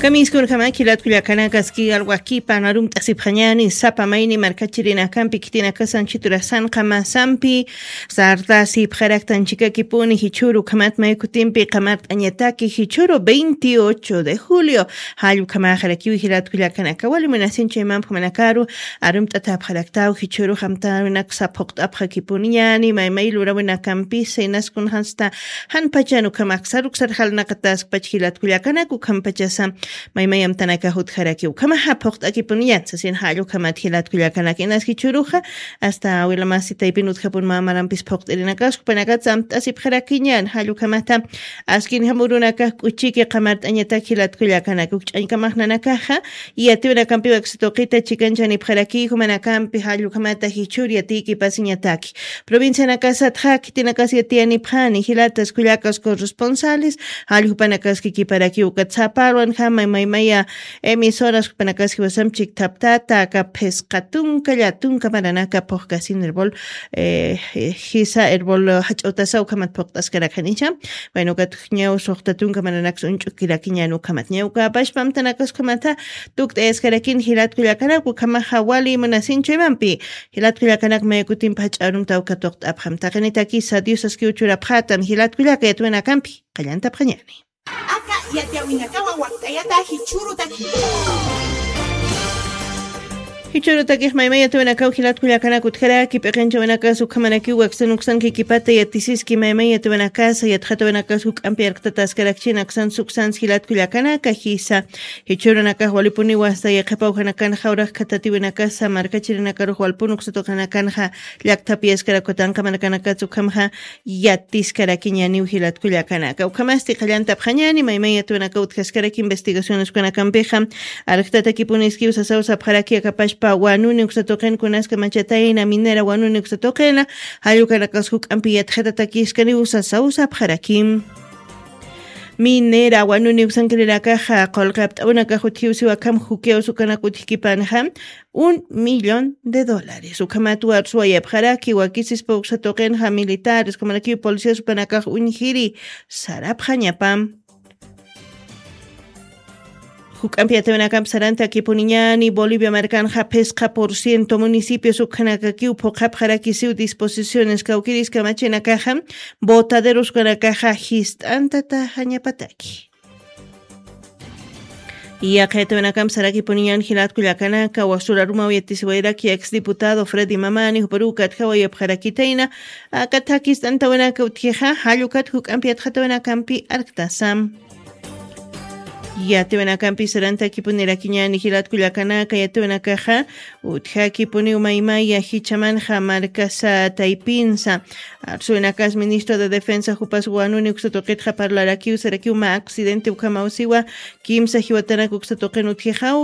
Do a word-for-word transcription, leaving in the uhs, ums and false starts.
Kamiskunjama jilatkullakanakaski alwakipan arumt'asipxañani sapa mayni markachirinakampi khitinakasan chiturasan qamasampi sartasipxaraktan chikakipuni jichhuru ukhamat maykutimpi qamart'añataki jichhuru veintiocho de julio. Jallukamaxarakiw jilatkullakanaka walimunasinchaymampxamanakaru arumt'atapxaraktaw jichhuru jamtawinak saphuqt'apxakipuniñani maymay lurawinakampisa inaskunxansta jan pachan ukhamaksar uksar jalnaqataskpach jilatkullakanak ukhampachasa maymayamtanakax utjaraki ukhamaxa phuqt'akipuniñan sasin jallukhamat jilatkullakanak inas jichhuruxa asta awilamasi taypin utjapun mamarampis phuqt'irinakaskupanakat samt'asipxarakiñan jallukhamata askinjamurunakax k'uchiki qamart'añatak jilatkullakanak ukch'añkamaxnanakaxa yatiwinakampiwak satuqita chikanchani pxaraki jumanakampi jallukhamata jichhur yatiki pasiñataki provincianakasatxa khitinakas yatiyani phani jilatas kullakas corresponsales jallukhanakaski kiparakiwkat saparwan jama maymaya emisoras juphanakaski wasam chikthaptata aka phisqa tunka llatunka maranaka phuqkasin erbol jisa erbol jach'awtasaw khamat phuqt'askarakanicha. Bueno kat ñaw suxta tunka mananaksa uñch'ukirakiñan ukhamat ñawkapashpa amtanakaskhamata tukt'ayaskarakin jilatkullakanak ukhamaxa wali munasinchuymanpi jilatkullakanak maykutimpa jach'arumtaw katuqt'apxam taqinitakisa diosaskiw churapxatam jilatkullaka yatwinakampi qallantapxañani. Aka yatiyawinakawa waktayata jichhurutaki. Jichhurutakix maymay yatawinakaw jilatkullakanak utjaraki p'iqinchawinakas ukhamanakiw waksan uksan kikipata yatisiski maymay yatawinakasa yatxatawinakas juk'ampi arktataskarakchin aksan suksans jilatkullakanaka jisa jichhurunakax walipuniwa asta yaqhipawjanakan jawrax khatatiwinakasa markachirinakarux walpun uksatuqanakanxa llakthapiyaskarakwa tanqamanakanakatsa ukhamxa yatiskarakiñaniw jilatkullakanaka ukhamasti qallantapxañani maymay yatwanaka utjaskarak investigacioneskunakampixa arjtatakipuniskiw sasaw sapxaraki akapashpa wanuni uksatuqin kunaska machatayna minera wanuni uksatuqina jallukanakas juk'ampi yatxatatakiskaniw sasaw sapxarakim. Minera wanuni uksankirinakaxa qulqi apt'awinakax utjiw siwakham jukiyaw sukanak utjkipanxa un millón de dólares ukhamat warsuwayapxaraki wakisispa uksatuqinxa militares ukhamanakiw policias upanakax uñjiri sarapxañapam. Juk'ampi yatawinakampi sarantakipuniñani bolivia markanxa phisqa por ciento municipios ukhanakakiw phuqhapxarakisiw disposiciones kawkiriska machinakaxa botaderos ukanakaxa jist'antataxañapataki. Yaqha yatawinakampi sarakipuniñan jilatkullakanaka wasurarumaw yatisiwayraki ex diputado fredi mamani juparuw katjawayapxarakitayna aka thakist'antawinaka utjixa jallukat juk'ampi yatxatawinakampi arktasam. Yatiwinakampi sarantakipunirakiñani jilatkullakanaka yatiwinakaxa utjakipuniw maymaya jichamanxa markasa taypinsa arsuwinakas ministro de defensa jupas wanuni uksatuqitxa parlarakiw sarakiw mä accidente ukhamaw siwa kimsa jiwatanak uksatuqin utjixaw.